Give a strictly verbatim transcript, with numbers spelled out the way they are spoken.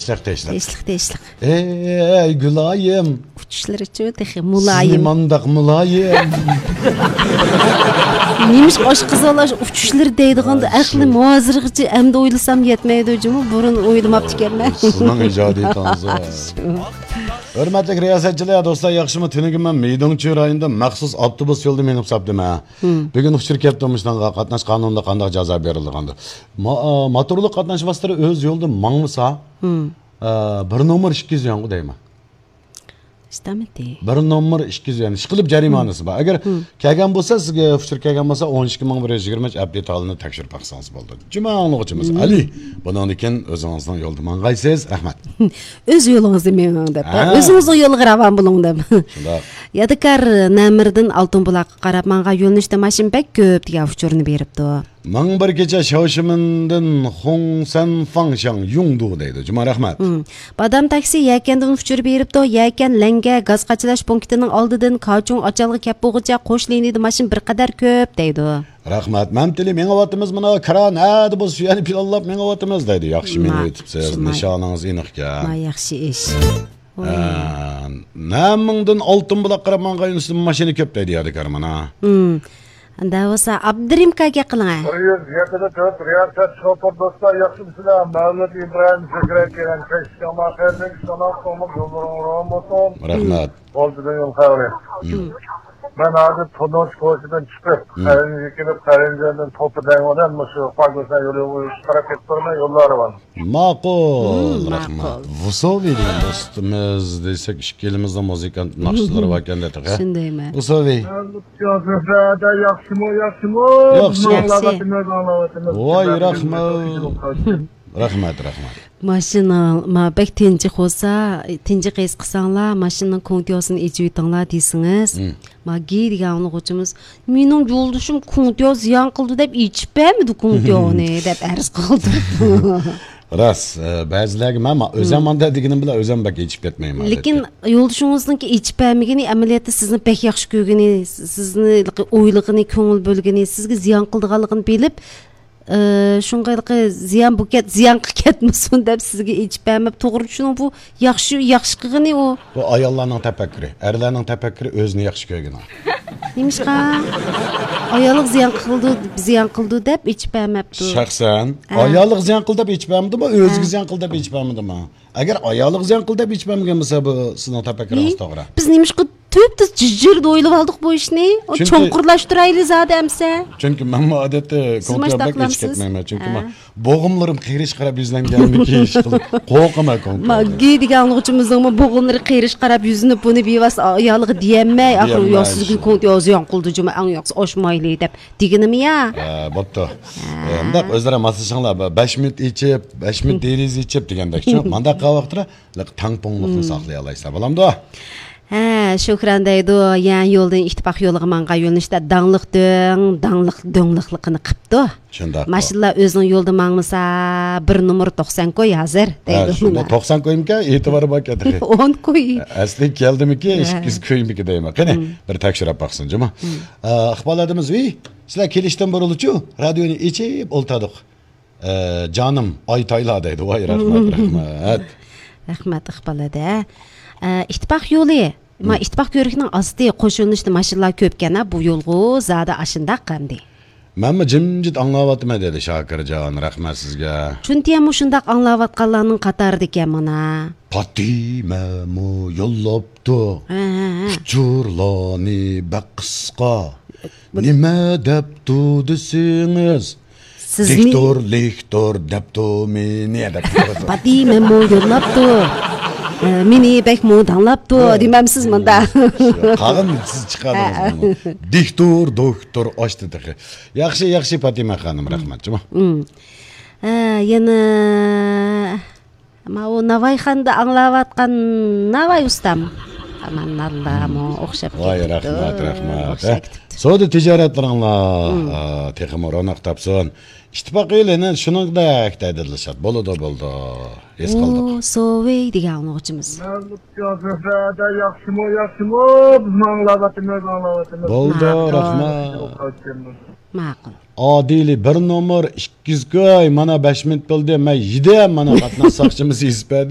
تېشلىق، تېشلىق. تېشلىق، تېشلىق. ئەي گۈلايىم. ئۇچۇشلىرىچۇ تېخى مۇلايىم. سىزنى مانداق مۇلايىم. نېمىشقا ئاشۇ قىز بالا ئۇچۇشلىرى دەيدىغاندا، ئەقلىم ھازىرغىچە ئەمدى ئويلىسام يەتمەيدۇ جۇمۇ، بۇرۇن ئويلىماپتىكەنمەن. سىزنىڭ ئىجادىيىتىڭىز. شۇ. ھۆرمەتلىك رىياسەتچىلەر، دوستلار، ياخشىمۇ؟ تۈنۈگۈن مەن مىدۇڭچۈ رايونىدا مەخسۇس ئاپتوبۇس يولىدا مېڭىپ ساپتىمەن. بۈگۈن ئۇچۇر كەپتۇ، مۇشۇنىڭغا قاتناش قانۇنىدا قانداق جازا بېرىلىدىغاندۇ. ما-، ئا، موتورلۇق قاتناش ۋاسىتىلىرى ئۆز يولىدا ماڭمىسا، ئا، بىر نومۇر ئىككى يۈز يۈەنغۇ دەيمەن. ئىشتامىتى. بىر نومۇر ئىككى يۈز يۈەن. ئىشقىلىپ جەرىمانىسى بار. ئەگەر كەلگەن بولسا، سىزگە ئۇچۇر كەلگەن بولسا، ئون ئىككى مىڭ بىر يۈز يىگىرمە ئۈچ ئەپدېت ھالىنى تەكشۈرۈپ باقسىڭىز بولىدۇ. جۈمە ئاڭلىغۇچىمىز ئەلى. بۇنىڭدىن كېيىن ئۆزىڭىزنىڭ يولىدا ماڭغايسىز. رەھمەت. ئۆز يولىڭىزدا مېڭىڭ دەپ. ھە. ئۆزىڭىزنىڭ يولىغا راۋان بولۇڭ دەپ. شۇنداق. يادىكار نەمىردىن ئالتۇن بۇلاققا قاراپ ماڭغان يۆنىلىشتە ماشىنا بەك كۆپ دېگەن ئۇچۇرنى بېرىپتۇ. مىڭ بىر كېچە شاۋشىمىندىن خۇڭسەن فاڭشاڭ يۇڭدۇ دەيدۇ. جۇما رەھمەت. بادام تاكسى يەكەندىن ئۇچۇر بېرىپتۇ. يەكەن لەڭگە گاز قاچىلاش پونكىتىنىڭ ئالدىدىن كاچۇڭ ئاچالغا كەپ بولغۇچە قوش لىنىيىدە ماشىنا بىر قەدەر كۆپ دەيدۇ. رەھمەت. مەن تىلى مېڭىۋاتىمىز مانا، كران ھەدە بولسا شۇ يەرنى پىلانلاپ مېڭىۋاتىمىز دەيدۇ. ياخشى مېڭىۋېتىپسىز، نىشانىڭىز ئېنىقكەن. ما ياخشى ئىش. ۋاي. ھە، نەمىڭدىن ئالتۇن بۇلاق قاراپ ماڭغان يۆنىلىشتە ماشىنا كۆپ دەيدۇ يادىكار مانا. ئەندە بولسا ئابدۇرېھىم ئاكا گەپ قىلىڭە. بىر يۈز يەتتە تۆت رىياسەت شوپۇر دوستلار، ياخشىمۇسىلەر؟ مەۋلۇت ئىبراھىم سۆكرەك كېلەن كەچلىكىڭلار خەيرلىك، سالام قوڭلۇق يوللىرىڭ روشەن بولسۇن. رەھمەت. بولدى يول خەۋىرى. مەن ھازىر تونۇش كوچىدىن چىقىپ، قەرەنجىگە كېلىپ، قەرەنجىدىن توپا دەڭ بىلەن مۇشۇ پاگوسا يولى قاراپ كېتىپ تۇرىمەن، يوللار روشەن. ماقۇل، رەھمەت. ۋۇسوۋى دېگەن دوستىمىز دېسەك، ئىككىيلىمىزنىڭ مۇزىكانت ناخشىلىرى باركەن-دە تېخى. شۇندايمۇ؟ ۋۇسوۋى. ياخشىمۇ، ياخشىمۇ؟ ياخشى. ئاڭلاۋاتىمىز، ئاڭلاۋاتىمىز. ۋاي، رەھمەت. رەھمەت، رەھمەت. ماشىنا، ما، بەك تىنچىق بولسا، تىنچىق ھېس قىلساڭلار، ماشىنىنىڭ كوڭتيوسىنى ئېچىۋېتىڭلار دېسىڭىز. ما، گى دېگەن ئاڭلىغۇچىمىز، مېنىڭ يولدىشىم كوڭتيو زىيان قىلدى دەپ ئېچىپ بەرمىدى كوڭتيونى دەپ ئەرز قالدۇرۇپتۇ. راست، ئە، بەزىلەرگە مەن، مەن ئۆزۈم مانداق دېگىنىم بىلەن ئۆزۈم بەك ئېچىپ كەتمەيمەن، لېكىن ئادەتتە. يولدىشىڭىزنىڭكى ئېچىپ بەرمىگىنى ئەمەلىيەتتە سىزنى بەك ياخشى كۆرگىنى، سىزنى ئويلىغىنى، كۆڭۈل بۆلگىنى، سىزگە زىيان قىلىدىغانلىقىنى بىلىپ، ئى، شۇڭا ھېلىقى زىيان بولۇپ كەت-، زىيانغا كەتمىسۇن دەپ سىزگە ئېچىپ بەرمەپتۇ. توغرا چۈشىنىڭ، بۇ ياخشى، ياخشى قىلغىنى ئۇ. بۇ ئاياللارنىڭ تەپەككۇرى. ئەرلەرنىڭ تەپەككۇرى ئۆزىنى ياخشى كۆرگىنى. نېمىشقا؟ ئايالىغا زىيان قىلدى، زىيان قىلدى دەپ ئېچىپ بەرمەپتۇ. شەخسەن ھە. ئايالىغا زىيان قىلدى دەپ ئېچىپ بەرمىدىمۇ، ئۆزىگە ھە. زىيان قىلدى دەپ ئېچىپ بەرمىدىمۇ؟ ئەگەر ئايالىغا زىيان قىلدى دەپ ئېچىپ بەرمىگەن بولسا، بۇ سىزنىڭ تەپەككۇرىڭىز توغرا. بىز نېمىشقا تۈپتۈز جىرجىردا ئويلىۋالدۇق بۇ ئىشنى. ئۇ چۈنكى چوڭقۇرلاشتۇرايلى زادى ئەمسە. چۈنكى مەنمۇ ئادەتتە سىز كونكرېت ماشتاق بەك ئېچىپ قىلامسىز؟ كەتمەيمەن. چۈنكى ھە. مەن بوغۇملىرىم قېرىشقا قاراپ يۈزلەنگەنمىكى ئىشقىلىپ قورقىمەن كونكرېت. ماگگى دېگەن ئاڭلىغۇچىمىزنىڭمۇ بوغۇملىرى قېرىشقا قاراپ يۈزلىنىپ، بۇنى بىۋاسىتە ئايالىغا دېيەلمەي، ئاخىرى دېيەلمەي يا سىزگە شۇ. كونكرېت يا زىيان قىلدى جۇمۇ، ئەڭ ياخشىسى ئاچمايلى دەپ دېگىنىمۇ يا. ھە، بوپتۇ. ھە. ئە، مۇنداق ئۆزئارا ماسلىشىڭلار. بە-، بەش مىنۇت ئېچىپ، بەش مىنۇت دېرىزە ئېچىپ دېگەندەك. شۇ، مانداق قىلغان ۋاقىتتا تەڭپۇڭلۇقنى ساقلىيالايسىلەر. بولامدۇ؟ ھە، شۆھرەن دەيدۇ، يەنە يولدىن ئىتتىپاق يولىغا ماڭغان يۆنىلىشتە داڭلىق دۆڭ، داڭلىق دۆڭلىقلىقىنى قىپتۇ. شۇنداق. ماشىنىلار ئۆزىنىڭ يولىدا ماڭمىسا، بىر نومۇر توقسان كوي ھازىر، ھە، دەيدۇ. شۇنداق. توقسان كويمىكەن، ئېتىبارى باركەن تېخى. ئون كوي. ئەسلى كەلدىمىكى، ھە. سەككىز كويمىكى دەيمەن. قېنى، بىر تەكشۈرۈپ باقسۇن، جۇمۇ. ئە، ئىقبال ھەدىمىز، ۋىي، سىلەر كېلىشتىن بۇرۇنلىچۇ، رادىيونى ئېچىپ ئولتۇردۇق. ئە، جانىم، ئايتايلا دەيدۇ. ۋاي، رەھمەت، رەھمەت. رەھمەت، ئىقبال ھەدە. ئە، ئىتتىپاق يولى. ما، ئىتتىپاق كۆۋرۈكىنىڭ ئاستى قوش يۆنىلىشتە ماشىنىلار كۆپكەن، ھە، بۇ يولغۇ زادى ئاشۇنداق ئەمدى. مەنمۇ جىمجىت ئاڭلاۋاتىمەن، دېدى شاكىرجان. رەھمەت سىزگە. چۈنتىيەنمۇ شۇنداق ئاڭلاۋاتقانلارنىڭ قاتارىدىكەن مانا. پاتىمەمۇ يوللاپتۇ. ھە، ھە، ھە. ئۇچۇرلارنى بەك قىسقا. بۇ نېمە دەپتۇ دېسىڭىز، سىزنى دىكتور، لىكتور دەپتۇ مېنى دەپ. پاتىمەمۇ يوللاپتۇ. ئە، مېنى بەكمۇ داڭلاپتۇ، ھە. دېمەمسىز مۇندا. شۇ، قالغان سىز چىقاردىڭىز ھە. بۇنى. دىكتور، دوكتور ئاچتى تېخى. ياخشى، ياخشى، پاتىمە خانىم، رەھمەت، جۇمۇ. ھە، يەنە ماۋۇ ناۋايخانىدا ئاڭلاۋاتقان ناۋاي ئۇستام. ئاماناللامۇ ئوخشاپ ۋاي، كېتىپتۇ. رەھمەت، رەھمەت. ئوخشاپ كېتىپتۇ. سودا تىجارەتلىرىڭلار، ئا، تېخىمۇ روناق تاپسۇن. ئىتتىپاق ئېلىنى شۇنىڭدەك دەيدۇ دىلشات. بولىدۇ، بولىدۇ. ھېس قىلدۇق. ئۇ، سوۋېي دېگەن ئاڭلىغۇچىمىز. مەۋلۇت يوسۇف ھەدە، ياخشىمۇ، ياخشىمۇ؟ بىزمۇ ئاڭلاۋاتىمىز، ئاڭلاۋاتىمىز. بولدى، ماقۇل. رەھمەت. ماقۇل. ئادىلى بىر نومۇر ئىككى يۈز كوي، مانا بەش مىنۇت بولدى، مەن يېدىم، مانا قاتناش ساقچىمىز يېزىپ بەردى.